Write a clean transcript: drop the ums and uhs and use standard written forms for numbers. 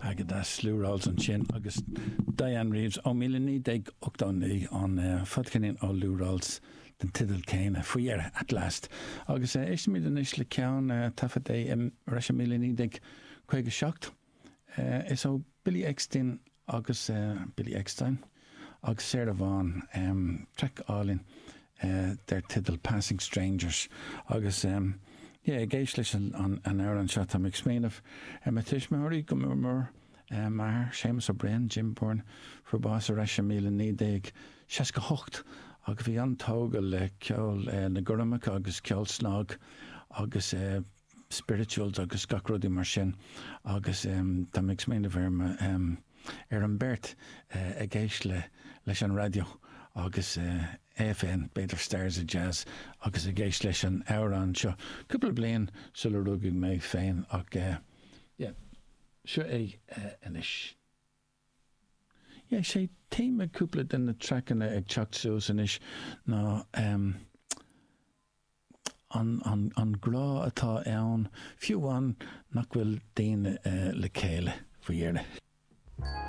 Go deas Lou Rawls ansin agus Dianne Reeves ó 1989, an fadcheirnín ó Lou Rawls den teideal céanna, faoi dheireadh, At Last. Agus éistfimid anois le ceann, taifead é ar ais i 1957. Is ó Billy Eckstine agus Billy Eckstine agus Sarah Vaughan, traic álainn dar teideal Passing Strangers. Agus yeah, ag éist leis an amhrán seo, tá mé ag smaoineamh ar mo tuismitheoirí go mór mór, m'athair, Séamus Ó Broin, Jim Byrne, fuair bás ar ais i 1968 agus bhí an-tógtha le ceol na gcoirmeacha agus ceol snag agus spirituals agus gach rudaí mar sin agus tá mé ag smaoineamh ar mo ar an mbeirt ag éist le leis an raidió agus AFN, b'fhéidir Stars of Jazz agus ag éist leis an amhrán seo cúpla bliain sula rugadh mé féin ach yeah seo é anois. Yeah, sé téama cúpla de na traiceanna ag teacht suas anois ná an grá atá ann, fiú amháin nach bhfuil daoine le chéile faoi dheireadh.